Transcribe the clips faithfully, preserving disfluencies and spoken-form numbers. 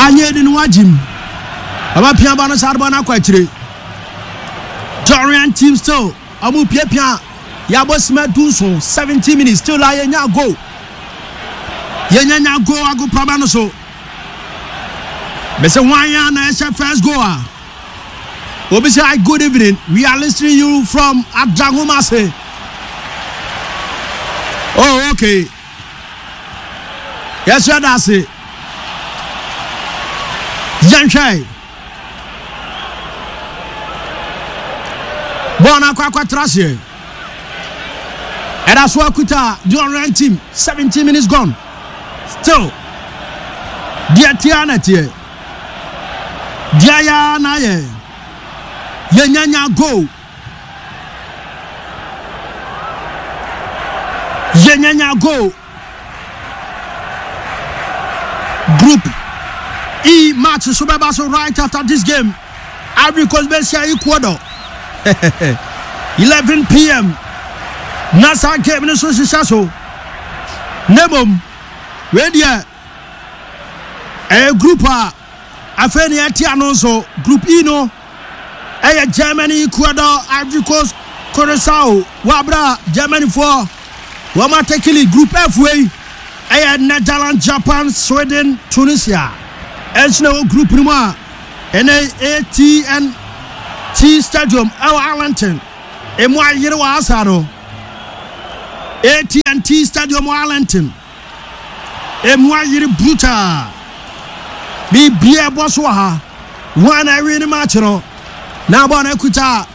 Anyɛ di no wagyim. Ɔbɛpia bɔ no saa de bɔ no akɔ akyire. Dorian team still ɔmo piapia yɛabɔ sima dunson seventeen minutes still a yɛnya goal. Yɛnya nya goal agoprama no so. Mese hwan ya na ɛhyɛ first goal a? Obi say hi, good evening. We are listening you from Adangumase. Oh, okay. Yes, that's it. Yɛnhwɛ. Bɔɔl no akɔ akɔtra aseɛ. Ɛda so akuta the Orient team. seventeen minutes gone. Still. Deɛ teɛ na teɛ. Deɛ yɛ na yɛ. Yɛnyanya goal. Yɛnyanya goal. Group E match so bɛba so right after this game. Ivory Coast bɛhyia Ecuador. eleven p m. Na saa game no so hyehyɛ so. Na mmom, wei deɛ ɛyɛ group a afei ne yɛte ano nso. Group E no ɛyɛ Germany, Ecuador, Ivory Coast, Curaçao. Wɔabra Germanyfoɔ wɔn atekili. Group F wei ɛyɛ Netherlands, Japan, Sweden, Tunisia. Ɛnso na ɛwɔ group no mu a ɛnɛ A T and T Stadium ɛwɔ Arlington. Emu ayere wɔ asa no. A T and T Stadium wɔ Arlington. Emu ayere brutal. Biribiara ɛbɔ so wɔ ha. Wɔn a ɛwi ne match no. Na bɔɔl no akuta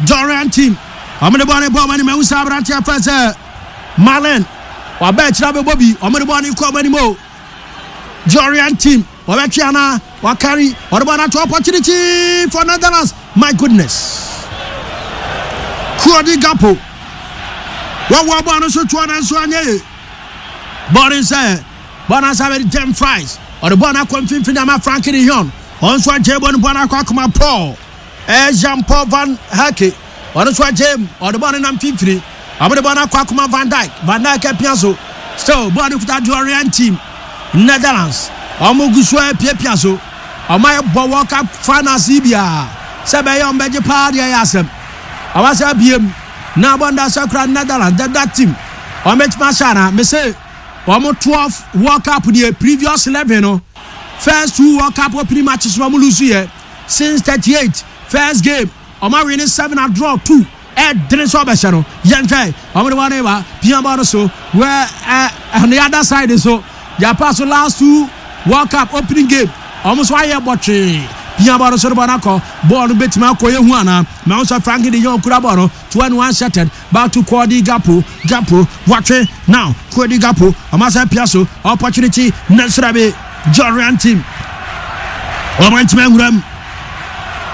Dorian team. Wɔn de bɔɔl no bɔ wɔn anim. Ɛho sɛ aberanteɛ fɛ sɛ Malen. Waba akyire abɛbɔ bi. Wɔn de bɔɔl no kɔ wɔn anim o. Dorian team. Wɔbɛtwe ana wakari. Wɔde bɔɔl no ato opportunity for Netherlands. My goodness. Cody Gakpo. Wɔwɔ bɔɔl no so toɔ na nso anyɛ yie. Bɔɔl no sɛ bɔɔl no asa bɛde Dumfries. Ɔde bɔɔl no akɔ mfimfini ama Frankie de Jong. Ɔno nso agye bɔɔl no, bɔɔl no akɔ akoma Paul. Ɛyɛ Jean Paul van Hecke. Ɔno nso agye mu. Ɔde bɔɔl no nam mfimfini. Ɔmo de bɔɔl no akɔ akoma Van Dijk. Van Dijk apia so. Still bɔɔl no kuta Dorian team. Netherlands. Ɔmo gu so apiapia so. Ɔmo ayɛ bɔ World Cup finals yi biara. Sɛ bɛyɛ ɔmo bɛgye paa deɛ ɛyɛ asɛm. Ɔmo asɛ abiem. Na bɔɔl no da so kura Netherlands. The that team. Ɔmo bɛtumi ahyɛ ana. Mese ɔmo twelve World Cup deɛ, previous eleven no. First two World Cup opening matches no ɔmo lose yɛ. Since thirty-eight first game ɔmo awie ne seven, a draw two. Ɛdene sɛ ɔbɛhyɛ no. Yɛnhwɛ, ɔmo de bɔɔl no ba pia bɔɔl no so wɛ ɛ on the other side so Japan so last two World Cup opening game ɔmo nso ayɛ bɔtwee. Pia bɔɔl no so de bɔɔl no akɔ. Bɔɔl no bɛtumi akɔ yɛ hu ana mɛ nso Frankie de Jong kura bɔɔl no. Twenty-one shattered back to Cody Gakpo. Gakpo watwe now. Cody Gakpo ɔmo asɛ pia so opportunity nɛsrɛ bi Jordan team. Ɔmo ntumi nwura mu.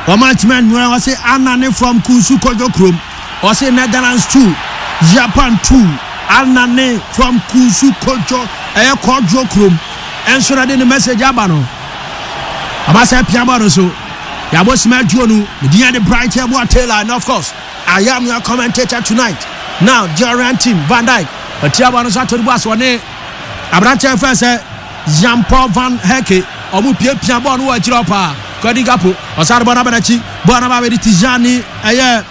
Ɔmo ntumi nwura. Ɔsɛ Anane from Kunsu Kojo kurom. Ɔsɛ Netherlands two, Japan two. Anane from Kunsu Kojo, ɛyɛ Kojo kurom. Ɛnso na de ne message aba no. Ɔmo asɛ pia bɔɔl no so. Yabɔ sima aduonu. Medinya de Bright Yeboah Taylor, and of course I am your commentator tonight. Now Jordan team, Van Dijk ɔtia bɔɔl no so ato ne bu ase. Ɔne aberanteɛ fɛ sɛ Jean Paul van Hecke ɔmo piapia bɔɔl no wɔ akyire hɔ paa. Cody Gakpo ɔsare bɔɔl no aba n'akyi. Bɔɔl no aba abɛdi Tijani, ɛyɛ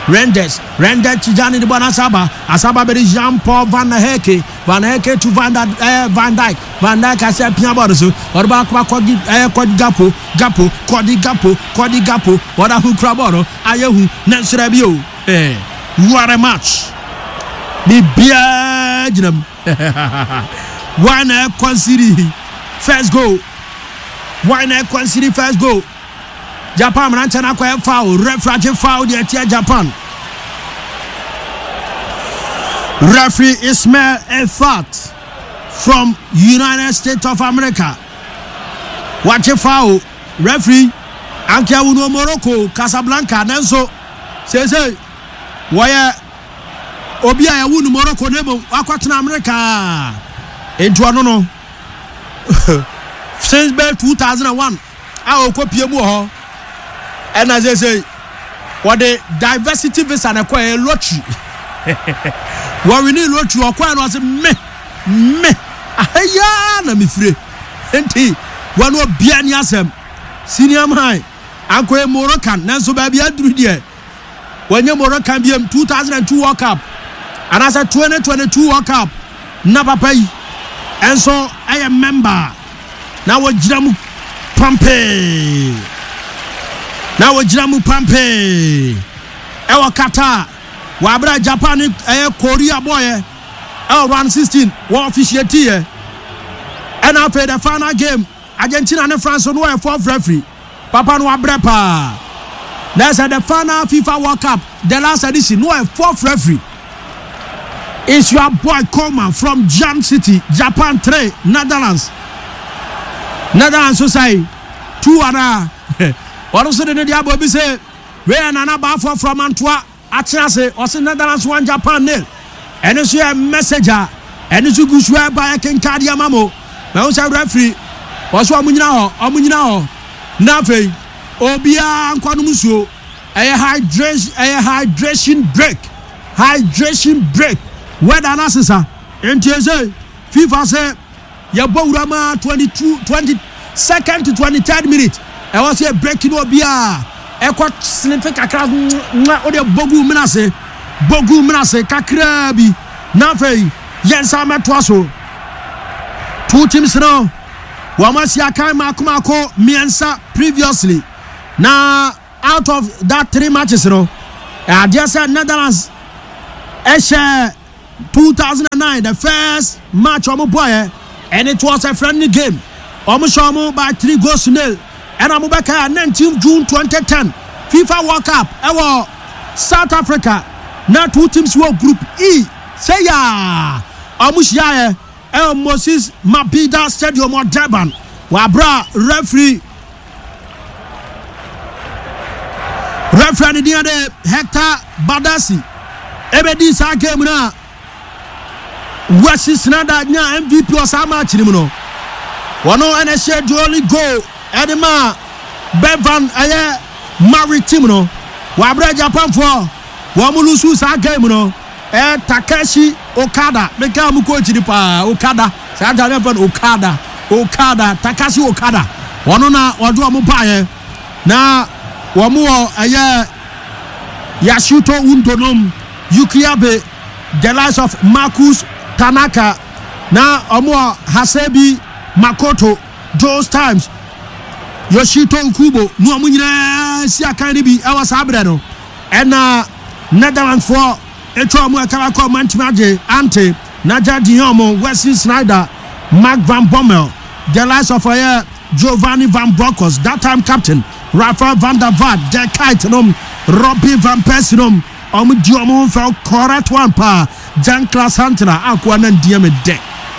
Reijnders. Reijnders, Tijani de bɔɔl no asa aba asa aba abɛdi Jean Paul van Hecke. Van Hecke to Van ɛɛ Van Dijk. Van Dijk asɛ pia bɔɔl no so. Ɔde bɔɔl akɔba Cody, ɛyɛ Cody Gakpo. Gakpo, Cody Gakpo, Cody Gakpo wɔde aho kura bɔɔl no ayɛ hu ne nsrɛ bi o. Ɛɛ what a match! Biribiara gyina mu. Why na ɛconcede first goal? Why na ɛconcede first goal? Japan mmeranteɛ no akɔyɛ foul. Referee agye foul deɛ ɛtia Japan. Referee Ismail Elfath from United States of America wagye foul. Referee anka awu no Morocco Casablanca, nanso seesei wɔyɛ obi a yɛwo no Morocco na mmom wakɔtena America. Nti ɔno no since bɛɛ two thousand and one a ɔkɔ pie mu wɔ hɔ, ɛna seesei wɔde diversity visa na ɛkɔ ɛyɛ lottery. Wɔwini lottery ɔkɔɛ no, ɔsɛ me me ahayaa na mefire. Nti Wɔn obiara ni asɛm. Senior man ankɔyɛ Moroccan nanso baabi aduru deɛ wɔnyɛ Moroccan biem. two thousand and two World Cup anaasɛ twenty twenty-two World Cup na papa yi ɛnso ɛyɛ member na wɔgyina mu pampee, na wɔgyina mu pampee ɛwɔ Qatar wɔabere Japan ne ɛyɛ Korea bɔɔyɛ ɛwɔ round sixteen wɔ officiate yɛ. Ɛna afei the final game, Argentina ne France no, wɔyɛ fourth referee. Papa no wabrɛ paa na ɛsɛ the final FIFA World Cup, the last edition no, wɔyɛ fourth referee. It's your boy Coleman from Jam City. Japan three, Netherlands Netherlands so sɛ two ana. Ɔno nso de ne de abɔ bi sɛ wei yɛ Nana Baafoɔ from Antoa akye ase. Ɔse Netherlands one, Japan nil. Ɛno nso yɛ message a ɛno nso gu so ɛba. Yɛ kenka ama mo mɛho sɛ referee wɔso ɔmo nyina hɔ, ɔmo nyina hɔ. Na afei obiara nkɔnom nsuo. Ɛyɛ hydration, ɛyɛ hydration break, hydration break. Weather na sesa nti ɛsɛ FIFA sɛ yɛbɔ wura ma twenty-two, twenty second to twenty third minute, ɛwɔ sɛ yɛ break no, obiara ɛkɔ sniff kakra nwa o de bogu mena ase, bogu mena ase kakraa bi. Na afei yɛn nsa mɛtoa so. Two teams no wɔn asi akan mako mako mmiɛnsa previously, na out of that three matches no, adeɛ sɛ Netherlands ɛhyɛ two thousand and nine, the first match wɔn bɔɔyɛ, and it was a friendly game. Wɔn hyɛ wɔn by three goals to nil. Ɛna wɔn bɛka nineteen June twenty ten FIFA World Cup ɛwɔ South Africa, na two teams wɔ Group E sɛ yaa wɔn hyiaeɛ ɛwɔ Moses Mabhida Stadium wɔ Durban. Wabra referee referee ne din de Hector Badasi ɛbɛdi saa game no a Wesley Sneijder nya M V P wɔ saa match no mu no. Wɔn ɛna ɛhyɛ the only goal ɛde ma Bevan ɛyɛ Mari team no. Wabra Japanfoɔ wɔn mo lose saa game no. Ɛ Takeshi Okada, meka mu coach ni paa, Okada saa ta ne fɛ no, Okada, Okada, Takashi Okada. Wɔn na wɔde wɔn baayɛ na wɔn wɔ ɛyɛ Yasuto Undonom, Yuki Abe, the likes of Marcus Tanaka, na wɔn wɔ Hasebi Makoto those times, Yoshito Kubo ne wɔn nyinaa si akan no bi ɛwɔ saa berɛ no. Ɛna Netherlands foɔ atwa wɔn ɛkara kɔ ɔmo ntumi agye ante Nigel de Jong, Wesley Sneijder, Mark van Bommel, the likes of ɛyɛ Giovanni van Bronckhorst, that time captain, Rafael van der Vaart, Dirk Kuyt nom, Robin van Persie nom. Ɔmo di ɔmo ho fɛw, correct one paa. Jan Klaas Huntelaar akoa na ndiɛ me dɛ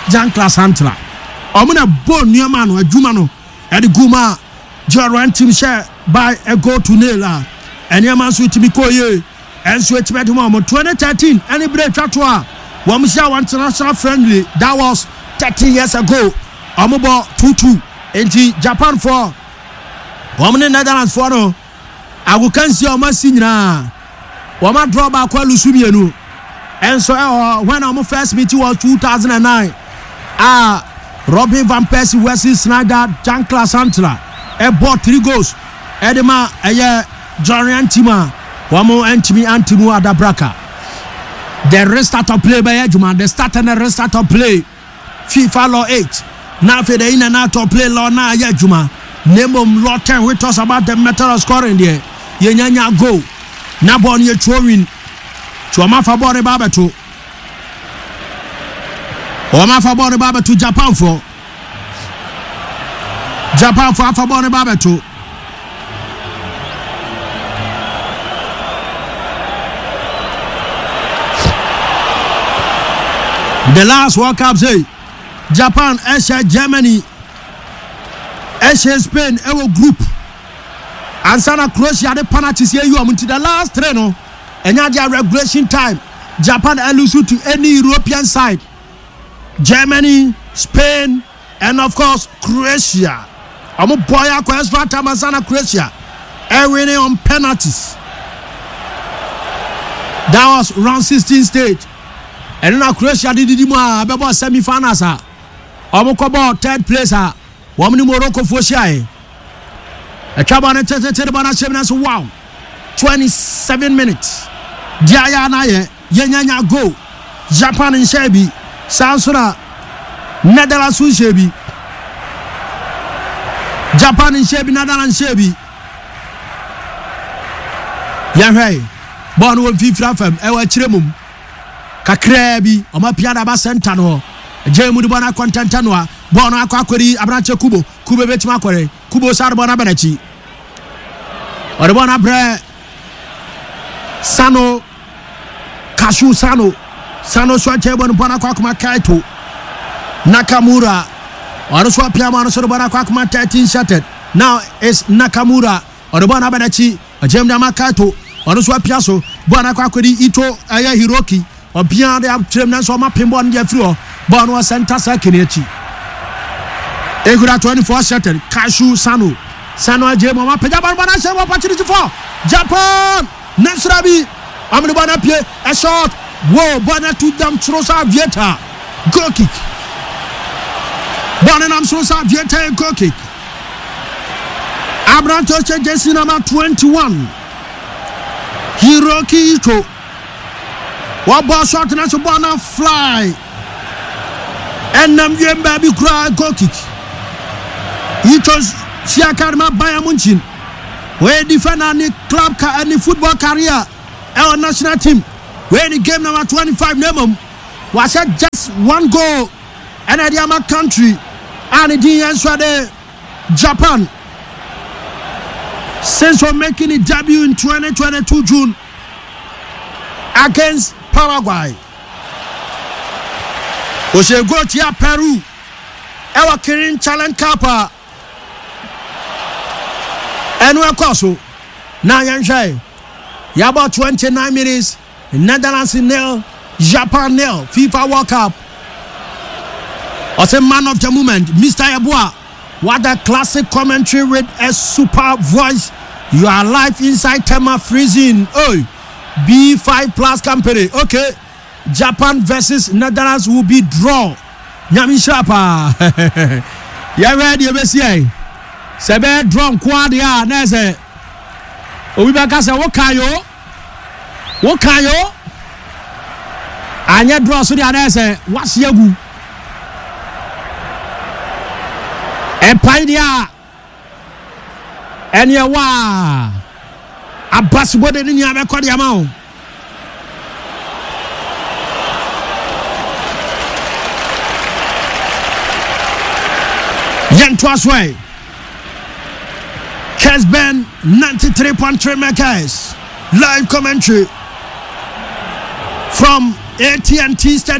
Jan Klaas Huntelaar. Ɔmo na bɔ nneɛma no adwuma no ɛde gu mu a German team hyɛ by a goal to nil a nneɛma nso tumi kɔ yie. Ɛnso etumi ɛde mu ɔmo twenty thirteen ɛne bere atwa to a wɔn hyɛ wɔn international friendly. That was thirteen years ago. Ɔmo bɔ two two. Nti Japan foɔ wɔn ne Netherlands foɔ no agokansi a wɔn asi nyinaa, wɔn adraw baako, alose mmienu. Ɛnso ɛwɔ when wɔn first meeting was two thousand and nine a Robin van Persie, Wesley Sneijder, Jan Klaas Huntelaar ɛbɔ three goals ɛde ma ɛyɛ Jorian team a wɔn ntumi ante mu adabraka. The restart of play bɛyɛ adwuma, the start and the restart of play, FIFA law eight. Na afei the in and out of play law na ayɛ adwuma, na mmom law ten, which talks about the method of scoring deɛ, yɛnyanya goal na bɔɔl no yɛ throw in. Tí wɔn afa bɔɔl no ba abɛto, wɔn afa bɔɔl no ba abɛto. Japanfoɔ, Japanfoɔ afa bɔɔl no ba abɛto. The last World Cup say Japan ɛhyɛ Germany, ɛhyɛ Spain ɛwɔ group ansa na Croatia de penalties yɛ yi wɔn. Nti the last three no ɛnyɛ adeɛ regulation time Japan ɛlose to any European side: Germany, Spain and of course Croatia. Ɔmo bɔ yɛ akɔ extra time ansa na Croatia ɛwin on penalties. That was round sixteen stage. Ɛno na Croatia de didi mu a bɛbɔ semi finals a ɔmo kɔbɔ third place a Wɔn ne Morocco foɔ hyiaeɛ. Atwa bɔ no tete de bɔ no ahyɛ mu nanso wow, twenty-seven minutes deɛ ayɛ anayɛ yɛnyanya goal. Japan nhyɛ bi, saa nso na Netherlands nhyɛ bi. Japan nhyɛ bi, Netherlands nhyɛ bi. Yɛhwɛ bɔɔl no wɔ mfimfini afam, ɛwɔ akyire mum kakraa bi. Ɔmo apia de aba center no hɔ, gye mu de bɔɔl no akɔ ntɛntɛn no a bɔɔl no akɔ akɔri aberanteɛ Kubo. Kubo bɛtumi akɔre. Kubo saa de bɔɔl no aba n'akyi, ɔde bɔɔl no abrɛ Sano Kasu. Sano Sano so akyɛ bɔ no, bɔɔl no akɔ akoma Kaito Nakamura. Ɔno so apia ma ɔno so de bɔɔl no akɔ akoma thirteen shattered. Now it's Nakamura, ɔde bɔɔl no aba n'akyi, ɔgyem de ama Kaito. Ɔno so apia so, bɔɔl no akɔ akɔdi Ito, ɛyɛ Hiroki. Ɔbea de akyerɛm nanso ɔma pem bɔɔl no de afiri hɔ. Bɔɔl no wɔ center circle no akyi, ekura twenty-four shattered Kashu Sano. Sano agye mu, ɔma pagya bɔɔl, bɔɔl no ahyɛ mu, opportunity for Japan nansora bi, ɔmene bɔɔl no apue, a shot wo, bɔɔl no atu dam soro sa Vieta, goal kick. Bɔɔl no nam soro sa Vieta, goal kick. Aberante ɔhyɛ jersey number twenty-one, Hiroki Ito, wɔbɔ shot na so bɔɔl no fly ɛnam wiem baabi koraa, goal kick. Ito hyia card ma Bayern Munchen. Wɔyɛ defender ne club ka ne football career ɛwɔ national team. Wɔyɛ ne game number twenty-five na mmom wahyɛ just one goal ɛna ɛde ama country a ne din yɛn nso de Japan since for making his debut in twenty twenty-two June against Paraguay. Ɔhyɛ goal tia Peru ɛwɔ Kirin Challenge Cup a ɛno ɛkɔ so. Na yɛnhwɛ, yɛabɔ twenty-nine minutes, Netherlands nil, Japan nil, FIFA World Cup. Ɔsɛ man of the moment, Mister Yeboah. What a classic commentary with a super voice. You are live inside Tema freezing. Oh, B five Plus Company. Okay, Japan versus Netherlands will be draw. Nyame nhyira paa. Yɛhwɛ deɛ ɛbɛsi ɛ sɛ ɛbɛyɛ draw nko adeɛ a na ɛsɛ obi bɛka sɛ woka yo, woka yo. Anyɛ draw so deɛ a na ɛsɛ wahye agu ɛpae deɛ a ɛneɛ waa abasobɔde ne nea bɛkɔ deɛ ama wo. Yɛntoa so ɛ Kesben ninety-three point three megahertz, live commentary from A T and T Stadium.